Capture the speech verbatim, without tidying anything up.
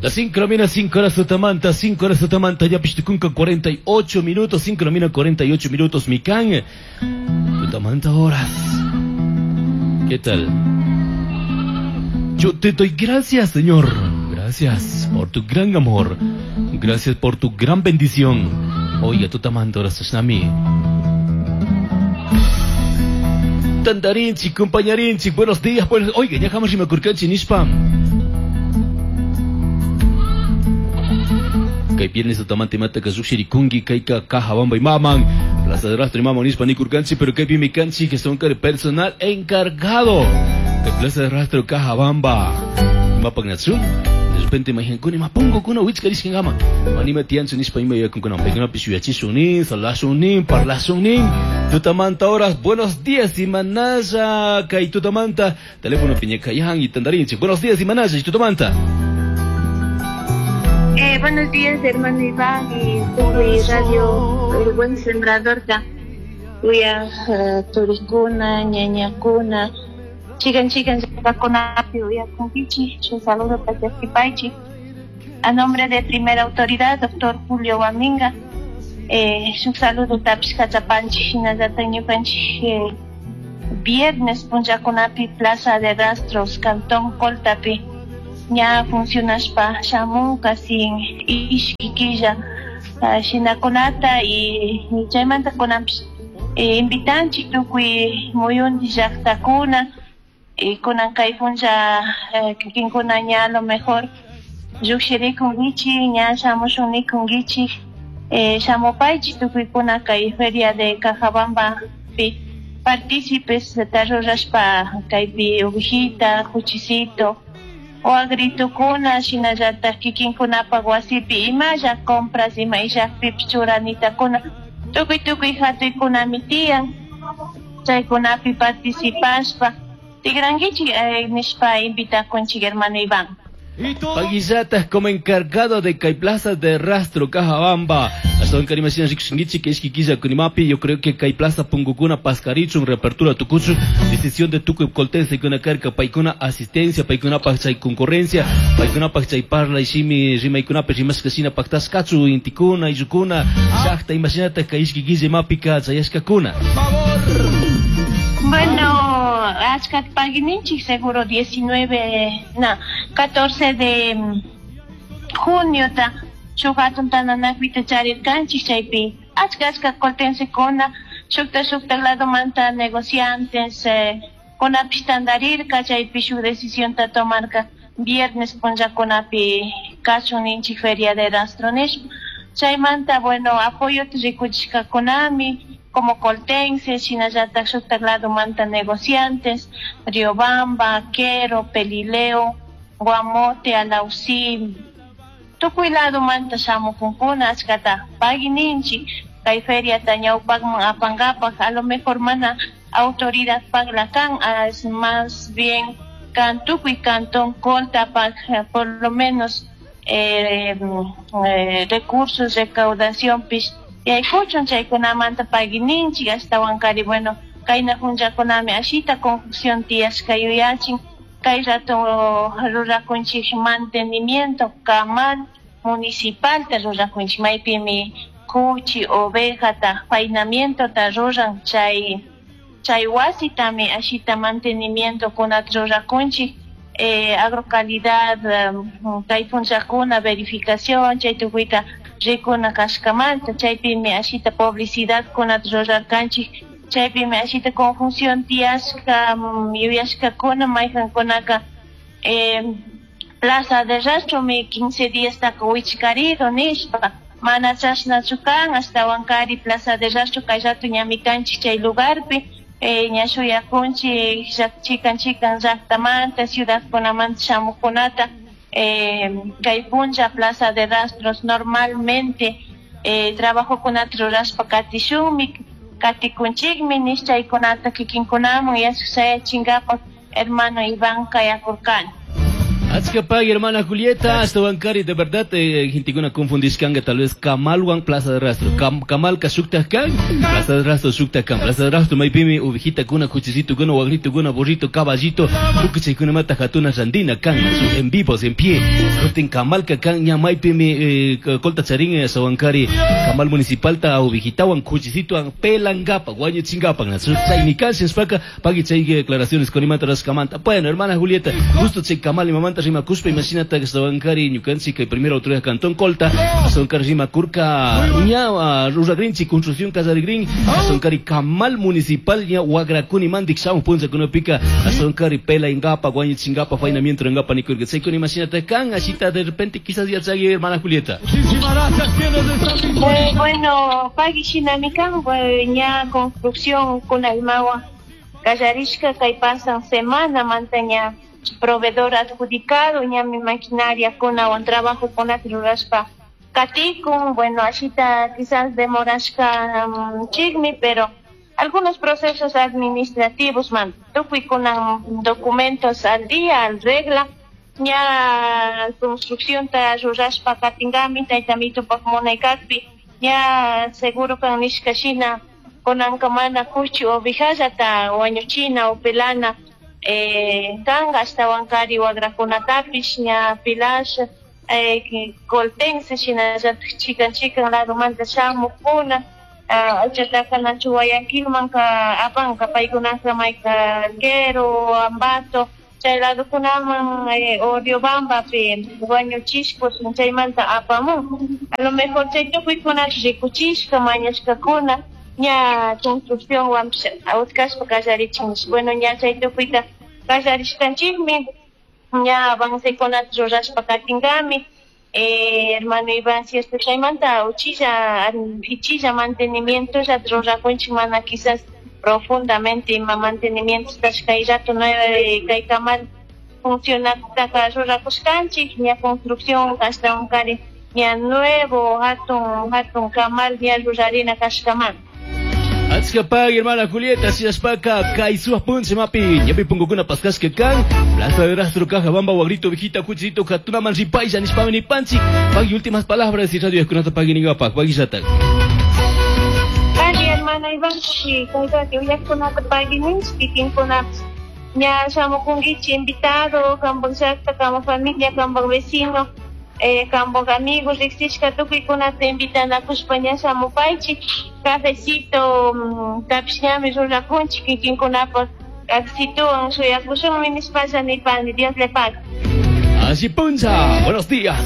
Las cinco de la mañana, cinco horas tutamanta, cinco horas tutamanta, ya pistucunca cuarenta y ocho minutos, cinco de la mañana, cuarenta y ocho minutos, mican, tutamanta horas. ¿Qué tal? Yo te doy gracias, Señor. Gracias por tu gran amor. Gracias por tu gran bendición. Oiga, tutamanta horas, Shnami. Tandarinchi, compañarinchi, buenos días, buenos... Oiga, ya jamás me curcanchi, nishpam. Kay viernes tutamanta imata kasushirikunki, kayka Cajabamba y maman, Plaza de Rastro y maman nishpa nikurkanchi, pero kay pimikanchi que son personal encargado de Plaza de Rastro Cajabamba. Mapagnatsum, de repente imaginan, mapongo kuna wichkarishkin ama. Anima tianchu nishpa ima yakunkuna, pekuna pishuyachishuni, salashuni, parlashuni. Tutamanta horas, buenos días, Imanaya, kay tutamanta, teléfono piñekayan y tandarinchi. Buenos días, Imanaya, y tutamanta. Eh, buenos días, hermano Iván y tuve radio El Buen Sembrador. Uya turikuna, ñañakuna, chican chican llaqtakunapi uyakunkichik. Un saludo para Chasquipaychik. A nombre de primera autoridad, doctor Julio Guaminga, eh, un saludo tapish kachapanchik, hinallataq ñukanchik eh, viernes punllakunapi Plaza de Rastros, Cantón Coltapi. Ña funcionashpa shamunka sin ishki killa shinakunata y chaymanta kunanpish invitanchik tukuy muyunti llaqtakuna y kunan kay punlla kikinkuna ña a lo mejor lluqshirikunkichik ña shamushun nikunkichik shamupaychik tukuykuna kay feria de Cajabambapi partícipes rurashpa kaypi ovejita, juchisito o agritukuna shinallataq kikinkunapaq wasipi imalla compras ima illaqpipish churanitakuna tukuy tukuy hatuykunami tiyan chaykunapi participashpa tigrankichik eh, nishpa invitakunchik hermano Iván. Paguillatas como encargado de Kay Plaza de Rastro Cajabamba. Hasta don Karimashina Rikshingichi, que es Kunimapi. Yo creo que Kay Plaza Pungukuna Pascarichun, reapertura Tucuchu, decisión de Tucu Coltense, Kuna Carca, Paikuna asistencia, Paikuna Pachay concurrencia, Paikuna Pachay Parla, Ishimi, Rimaikuna, Rimaskasina, Pactascachu, Intikuna, Iyukuna, Shachta, Imaginata, Kaishki Mapika, Chayashkakuna. Bueno, achka paguininchik seguro diecinueve, no, catorce de junio ta shuk hatun tananakuyta charirkanchik chaypi achka achka coltensekuna shukta shukta ladomanta negociantes eh, kunapish tantarirka chaypi shuk decisionta tomarka viernes punllakunapi kachun ninchik feria de rastro nishpa chaymanta bueno apoyota rikuchishkakunami como coltenses, shinallataq shuktak ladomanta negociantes, Riobamba, Quero, Pelileo, Guamote, Alausí, tukuy ladomanta shamukunkuna achkata paguininchik kay feriata ñawpaqman apankapaq a lo mejor mana autoridad pagla kan, es más bien kan tukuy cantón Coltapaq por lo menos eh, eh, recursos, recaudación pish yaykuchun chaykunamanta paguininchik ashtawankari bueno kayna punllakunami ashita confusión tiyashka yuyachin kay rato rurakunchik mantenimiento kamal municipalta rurakunchik maypimi kuchi ovejata faenamientota ruran chay chay wasitami ashita mantenimiento kunata rurakunchik eh, agrocalidad um, kay punllakuna verificación chay tukuyta rikuna kashkamanta chaypimi ashita publicidad kunata rurarkanchik chaypimi ashita confusión tiyashka yuyashkakuna mayqankunaka eh, Plaza de Rastromi quince días taka wichkarido nishpa mana chashnachu kan ashtawankari Plaza de Rastro kay rato ñami kanchik chay lugarpi eh, ña shuyakunchik chikan chikan llaqtamanta ciudadkunamanta shamuqkunata Eh, kay punlla Plaza de Rastros normalmente eh, trabajokunata rurashpa katishunmi katikunchikmi nish chaykunata kikinkunaman yachayachinkapak hermano Iván kayakurkani. Achka hermana Julieta, hasta de verdad, eh, gentekuna confundishkanga tal vez Kamalwan Plaza de Rastro. Kam, Kamalka shuktaj kan, Plaza de Rastro shuktaj kan. Plaza de Rastro maypimi ovejita kuna, cuchicito kuna, wagrito kuna, burrito, caballito, tukuy chaykunamanta hatuna randina kan, en vivos, en pie. Kutin Kamalka kan, ña maypimi eh, colta charin eh, sawankari, Kamal municipalta ovejitawan, cuchicito pelangapa, wañuchingapa, chaymi kan, sinspaka, pagui chay declaraciones con imanta raskamanta. Bueno, hermana Julieta, justo chay Kamal imamanta rimakuspa, imashinata sawankari ñukanchik kay primera autoridad cantón Colta, sawankari rimakurka ña ruragrinchik construcción kallarigrin, sawankari Kamal municipal ña wagrakuni mandik shamu punllakunapika, sawankari pelaingapa, wañuchingapa, faenamiento ngapa nikurka. Chaykuna imashinata kan, ashita de repente quizás ya chay hermana Julieta. Eh, bueno, pagui shinami kan, ña construcción kuna imawa kallarishka kay pasan semana mantaña proveedor adjudicado ñami maquinaria kunawan trabajo kunata rurashpa katikun. Bueno, ashita quizás demorashka um, chikmi, pero algunos procesos administrativos man tukuy kunan documentos al día, al regla, ña construcción ta rurashpa katingami tayta mitupak munaykakpi ña seguro kan nishka shina kunanka mana kuchi ovejallata wañuchina o pelana eh, kanka ashtawankari wagrakunatapish ña pilash eh, coltense shinallatak chikan chikan ladomanta shamukuna aychataka nachu Guayaquilmanka apanka paykunaka mayka Alghero, Ambato chay ladokunaman eh, o Riobambapi wañuchishpa chaymanta apamun. A lo mejor chay tukuykunata rikuchishka mañashkakuna ña construcción wanpish utkashpa kallarichin. Bueno, ña chay tukuyta kallarishkanchikmi ña avancekunata rurashpa katinkami. Eh, hermano Iván, cierto, chaymanta uchilla ichilla mantenimiento rurakunchik mana quizás profundamente ima mantenimiento kay rato nueve kay kamal funcionaktaka rurakushkanchik ña construcción ashtawankari ña nuevo hatun hatun kamal ña rurarina kashkaman. Achka pagui, hermana Julieta, shinashpaka kay suwa puncha mapi, ñapi punkukuna paskashka kan, Plaza de Rastro, Cajabamba, Wagrito, Vejita, Cuchito, Hatunaman, Ripaylla, nishpami nipanchik. Pagui, últimas palabras y radio eskunata pagui ningapak, pagui llatak. Pagui, hermana Iván, sí, kaytati uyakkunata pagui ninchik, kikinkunapish ña shamukunkichik invitado, kanpak llakta, kanpak familia, kanpak vecino, eh, kanpak amigos, riksishka tukuykunata invitanakushpa ña shamupaychik, cafecito tapish ñami rurakunchik kikinkunapak cafecitowan shuyakushunmi nishpalla nipani. Dios le pague. Así puncha, buenos días.